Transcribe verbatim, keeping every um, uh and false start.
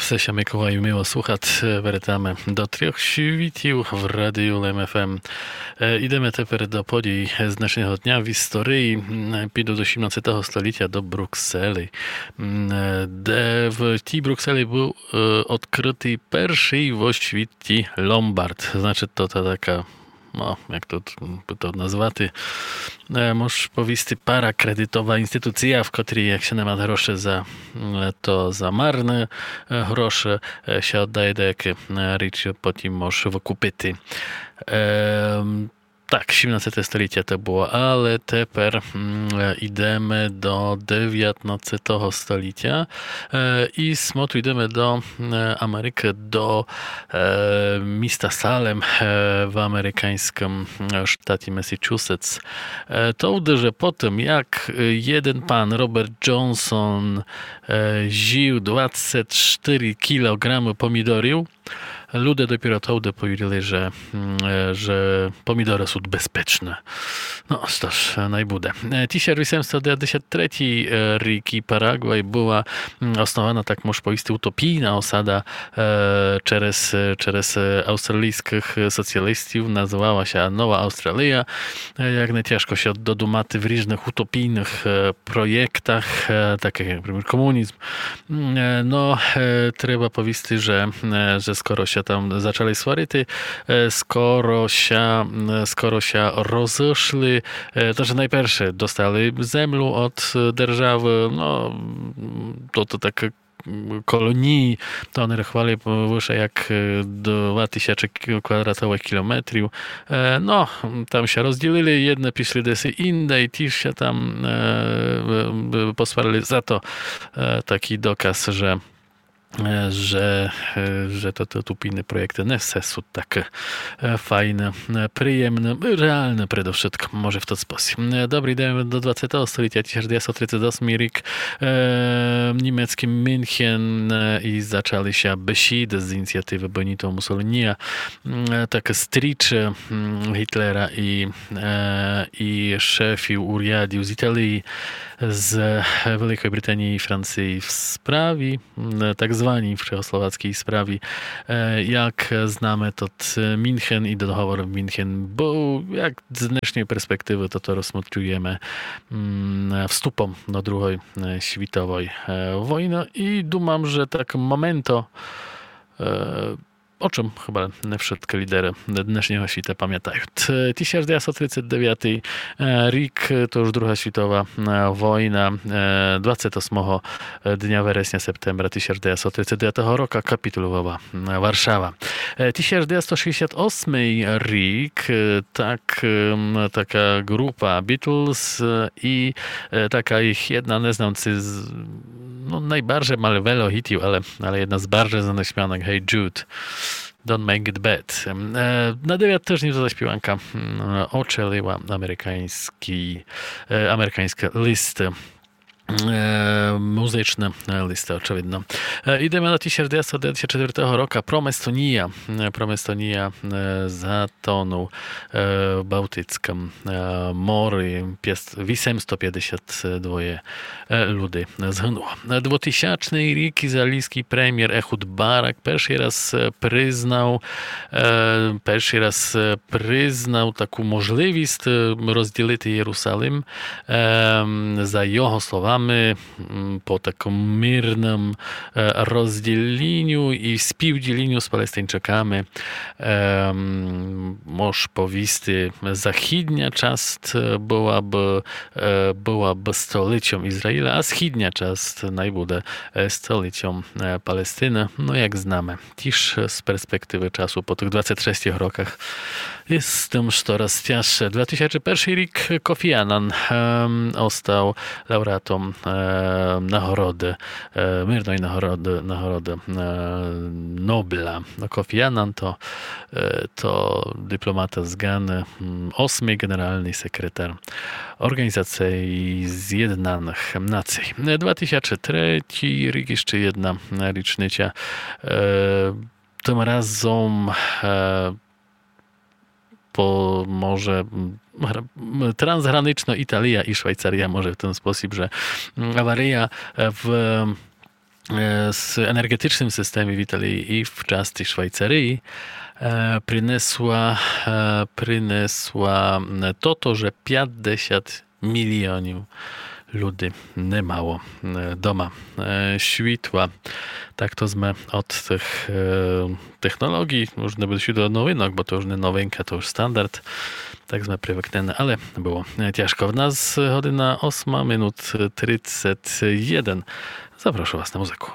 Псе ся Миколаю мило слухати, е, вертаме до трьох світів в Радію Лем ФМ. Е, ідеме тепер до подій з днешнього дня в історії. М, піду до сімнадцятого століття, до Брукселі, м, е, де в тій Брукселі быв, е, одкрытый першый во світі ломбард. Значить, то, то така, но, як то, м, то назвати, е, мож повісти, паракредитова інституція, в котрій, як ся не ма гроші за, м, то за марні, е, гроші, е, ся оддає даякі, е, річі, потім мож выкупити. Е, так, сімнадцяте століття то было, але тепер, м, е, ідеме до девятнадцятого століття. Е, і смотрю, ідеме до, е, Америкы, до, е, міста Салем, е, в американьскым, е, штаті Месачусетс. Е, то вже потім, як, е, єден пан Роберт Джонсон, е, зїв двадцять штыри кілограмы помідорів, люде допіро товды повірили, же, м, е, же помідоры сут безпечны. Но, што ж, най буде. Е, тисяч вісемсто девятдесят третій, е, рік і Парагвай была, м, основана, так мож повісти, утопійна осада, е, через, е, через, е, австралійскых, е, соціалістів, называла ся Нова Австралія. Е, як не тяжко ся додумати в ріжных утопійных, е, проєктах, е, такых як, наприклад, комунізм. М, е, но, е, треба повісти, же, е, же скоро ся там зачали сварити, е, скоро ся, м, скоро ся розышли, е, то, же найперше достали землю од, е, державы, но, м, то, то так, м, колонії, то они рахували выше як, е, два тисячі кі-, квадратовых кілометрів. Е, но, там ся розділили, єдны пішли десь інде, тіж ся там, е, в-, в-, посварили. Зато, е, такій доказ, же, е, же, е, же то, то утопійны проєкты не все сут такы, е, файны, е, приємны, реалны предовшытком, може в тот спосіб. Е, добрі, ідеме до двадцятого століття, тисяч девятсто тридцять осмый рік, е, німецькый Мюнхен, е, і зачали ся бесіды з ініціативы Беніто Муссолінія, м, е, так стрічы, м, Гітлера і, е, і шефів урядів з Італії, з Великої Британії і Франції в справі, м, так званій чехословацькій справі. Е, як знаме, тот Мюнхен і договор в Мюнхен быв, як з днешньої перспективы, то, то розсмотрюєме, м, вступом до Другой, е, світовой, е, войны. І думам, же так моментом, е, о чым хыба не вшыткы лідеры днешнього світа памятают. Е, тисяч девятсто тридцять девятый, е, рік, е, то уж Друга світова, е, война, е, двадцять осмого дня вересня, септембра тисяч девятсто тридцять девятого рока капітулювала, е, Варшава. Е, тисяч девятсто шістдесят осмый рік, е, так, ем, така ґрупа Beatles, е, і, е, така їх єдна, не знам, ци з, но, найбарже мали вельо гітів, але, але єдна з барже знаных співанок, Hey Jude, Don't Make It Bad. Ем, е, на девят тыжнів та співанка, м, очолила американьскы, е, американьскы лісты. Е, музичны, е, лісты, очевидно. Е, ідеме до тисяч девятсто девятдесят четвертого рока. Проместонія. Е, Проместонія, е, затонув, е, в Балтицькым, е, морі. Пєс-, вісемсто пятдесят двоє, е, люди згынуло. Е, двотисячный рік, ізраїльскый премєр Ехуд Барак першый раз, е, признав, е, першый раз, е, признав таку можливість, е, розділити Єрусалим. Ем, за його словами, м, по такому мирному, е, розділіню і співділіню з палестинчаками, ем, мож повісти, західня част, е, была бы, е, была бы столицьом Ізраїля, а східня част най буде, е, столицьом, е, Палестины. Но, як знаме, тіж з перспективы часу по тых двадцять шестьох роках єст з тым штораз тяжше. Два тисячы першый рік. Кофі Анан, ем, остав лауреатом, е, нагороды, е, мирной нагороды, нагороды, е, Нобля. Но, Кофі Анан то, е, то дипломата з Ґаны, м, осмый ґенералный секретар Орґанізації Зєднаных Націй. Е, два тисячы третій рік, іщы єдна річниця. Е, тым разом, е, по-, може, м, гра-, м, трансгранична Італія і Швайцарія, може в тот спосіб, же, м, аварія, е, в, е, с-, енерґетичным системі в Італії і в части Швайцарії, е, принесла, е, принесла, м, тото, же пятдесят міліонів люди не мало, е, дома, е, світла. Так то сме од тых, е, технолоґій, уж не буде світла новинок, бо то уж не новинка, то уж стандарт. Так сме привыкнены, але было, е, тяжко. В нас година осма, минут тридцет єден. Запрошу вас на музыку.